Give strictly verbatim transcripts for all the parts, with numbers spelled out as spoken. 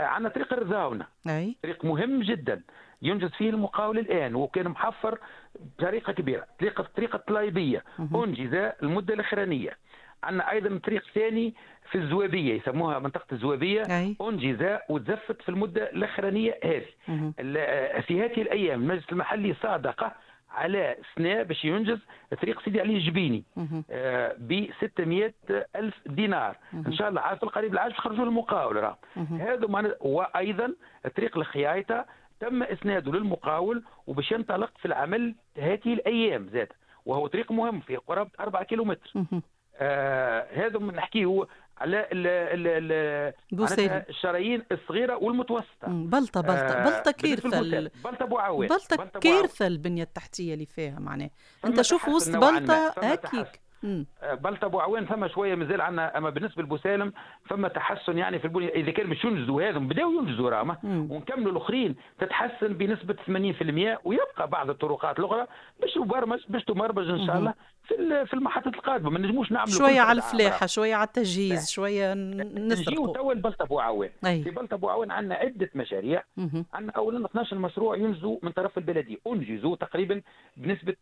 عندنا طريق الرزاونه، أي. طريق مهم جدا ينجز فيه المقاول الان، وكان محفر بطريقة كبيرة. طريقه طريقه الطلايبيه انجز المدة الاخرانية. عندنا ايضا طريق ثاني في الزوابيه، يسموها منطقة الزوابيه، أي. انجز وتزفت في المدة الاخرانية هذه. في هذه الايام المجلس المحلي صادق على سنة باش ينجز طريق سيدي علي الجبيني آه ب ستمية ألف دينار. ان شاء الله في القريب العاجل خرجوا المقاول راه هذا معنى. وايضا طريق الخيايطه تم اسناده للمقاول وباش ينطلق في العمل هذه الايام زاد، وهو طريق مهم في قرابة أربعة كيلومتر. آه هذا من نحكيه على ال ال ال الشرايين الصغيرة والمتوسطة. بلطه بلطه آه بلطه كارثة، بلطه بوعوان، بلطه كارثة البنية التحتية اللي فيها معناها. انت شوف وسط بلطه هكيك بلطه بوعوان فما شوية مازال عندنا، اما بالنسبة لبوسالم فما تحسن يعني في البنية. اذا كان باش ينجزوا هذا بداوا ينجزوا راما ونكملوا الاخرين تتحسن بنسبة ثمانين بالمية، ويبقى بعض الطرقات الاخرى باش تبرمج باش تمرمج ان شاء الله في في المحطات القادمة. ما نجموش نعملوا شوية على الفلاحة، شوية على التجهيز، شوية نسرقوا. نجيو توا لبلطه بوعوان. في بلطه بوعوان عندنا عده مشاريع. عندنا اولا اثناش مشروع ينجزوا من طرف البلدية، انجزوا تقريبا بنسبة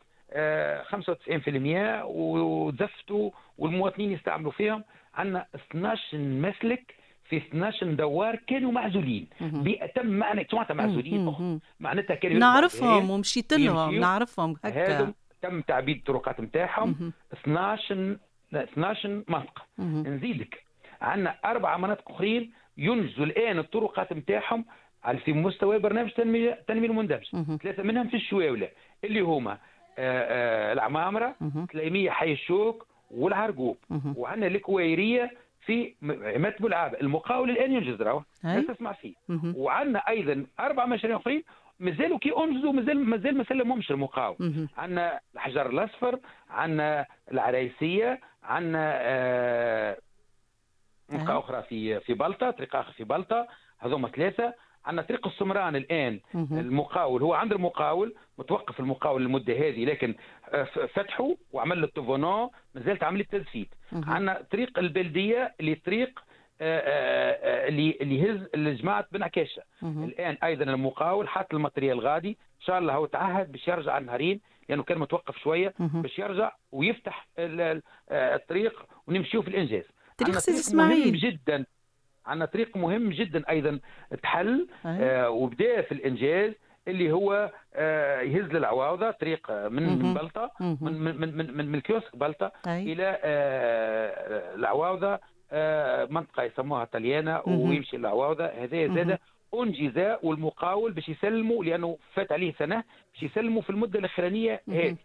خمسة وتسعين بالمية وزفتوا والمواطنين يستعملوا فيهم. عندنا اثناش مسلك في اثناش دوار كانوا معزولين بأتم معنى. معناتها معزولين معناتها كانوا نعرفهم ومشيت لهم، نعرفهم هكا. تم تعبيد الطرقات نتاعهم اثناش اثناش منطقة. نزيدك عندنا اربع مناطق اخرين ينجزوا الان الطرقات نتاعهم على في مستوى برنامج التنمية التنمية المندمجه. ثلاثة منهم في الشواوله اللي هما آه آه العمامره، تليميه حي الشوك، والعرقوب. وعندنا الكويريه في عماد بولعابه، المقاول الان ينجز راهو تسمع فيه. وعندنا ايضا اربع مشاريع اخرين مازالوا كي انجزوا، مازال مازال ما سلمهمش المقاول. عندنا الحجر الاصفر، عندنا العرايسيه، عندنا آه منطقة اخرى في في بلطه، طريق اخر في بلطه، هذوما ثلاثة. عندنا طريق السمران الان المقاول هو عند المقاول، متوقف المقاول المدة هذه، لكن فتحوا وعمل له التوفونون، مازالت عملية تزفيت. عندنا طريق البلدية اللي طريق اللي اللي يهز الجماعة بن عكاشه. الان ايضا المقاول حط ال matériel غادي، ان شاء الله هو تعهد باش يرجع النهارين لانه كان متوقف شوية، باش يرجع ويفتح الطريق ونمشيو في الانجاز. طريق سيدي اسماعيل مهم جدا، عندنا طريق مهم جدا ايضا تحل آه وبدا في الانجاز اللي هو آه يهز للعواوضه، طريق من من بلطه، من من من من, من الكيوسك بلطه الى آه العواوضه، آه منطقة يسموها طليانه، ويمشي للعواوضه. هذا زاد انجز والمقاول باش يسلموا لانه فات عليه سنة، باش يسلموا في المدة الاخرانية هذه.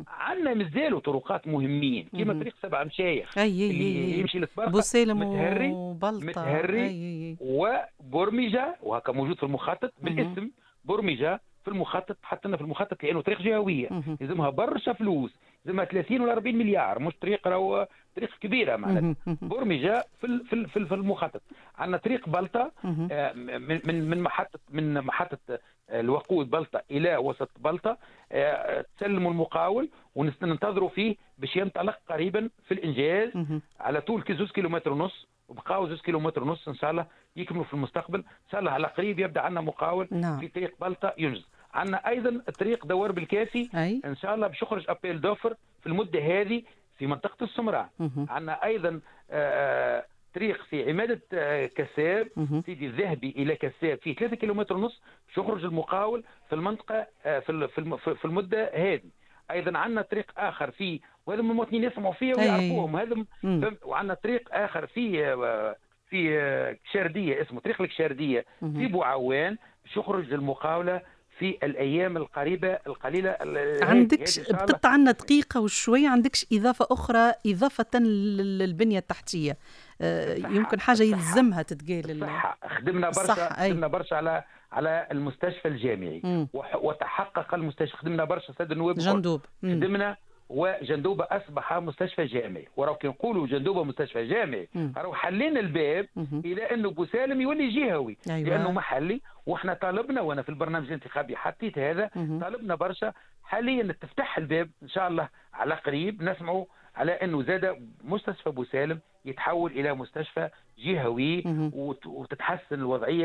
عندنا مازالوا طرقات مهمين كيما طريق سبع مشايخ اللي يمشي للطبرقه، بوسالم متهري وبلطه، متهري وبرمجه، وهكا موجود في المخطط بالاسم برمجة في المخطط، حطينا في المخطط لانه طريق جهويه لازمها برشا فلوس، لازمها ثلاثين ولا أربعين مليار، مش طريق راهو طريق كبيرة معناتها. برمجة في في في المخطط. عندنا طريق بلطه من من من محطة من محطة الوقود بلطه الى وسط بلطه، تسلموا المقاول وننتظروا فيه باش ينطلق قريبا في الانجاز على طول زوج كيلومتر ونص، وبقاو زوج كيلومتر ونص ان شاء الله يكملوا في المستقبل. ان شاء الله على قريب يبدا عندنا مقاول نعم. في طريق بلطه ينجز. عندنا ايضا طريق دوار بالكافي أي. ان شاء الله باش يخرج appel d'offres في المدة هذه في منطقة السمراء. عندنا ايضا آه طريق في عماده كساب، سيدي الذهبي الى كساب، فيه ثلاثة كيلومتر ونص باش يخرج المقاول في المنطقة في في المدة هذه. ايضا عندنا طريق اخر في، وهذا المواطنين يسمعوا فيه ويعرفوهم هذا، وعندنا طريق اخر في في شارديه اسمه طريق الكشارديه في بوعوان باش يخرج للمقاوله في الايام القريبة القليلة. عندك بقطع عندنا دقيقة وشوية، عندكش اضافه اخرى اضافه للبنيه التحتية؟ يمكن حاجة يلزمها تتقال. الصحة خدمنا برشا، خدمنا برشا على على المستشفى الجامعي مم. وتحقق المستشفى، خدمنا برشا سيد النواب جندوب، خدمنا وجندوبه اصبح مستشفى جامعي. وراو كي نقولوا جندوبه مستشفى جامعي راهو حلينا الباب مم. الى انه بوسالم يولي جهوي. أيوة. لانه محلي، واحنا طالبنا، وانا في البرنامج الانتخابي حطيت هذا، مم. طالبنا برشا. حاليا تفتح الباب ان شاء الله على قريب نسمعوا على انه زاد مستشفى بوسالم يتحول الى مستشفى جهوي وتتحسن الوضعية.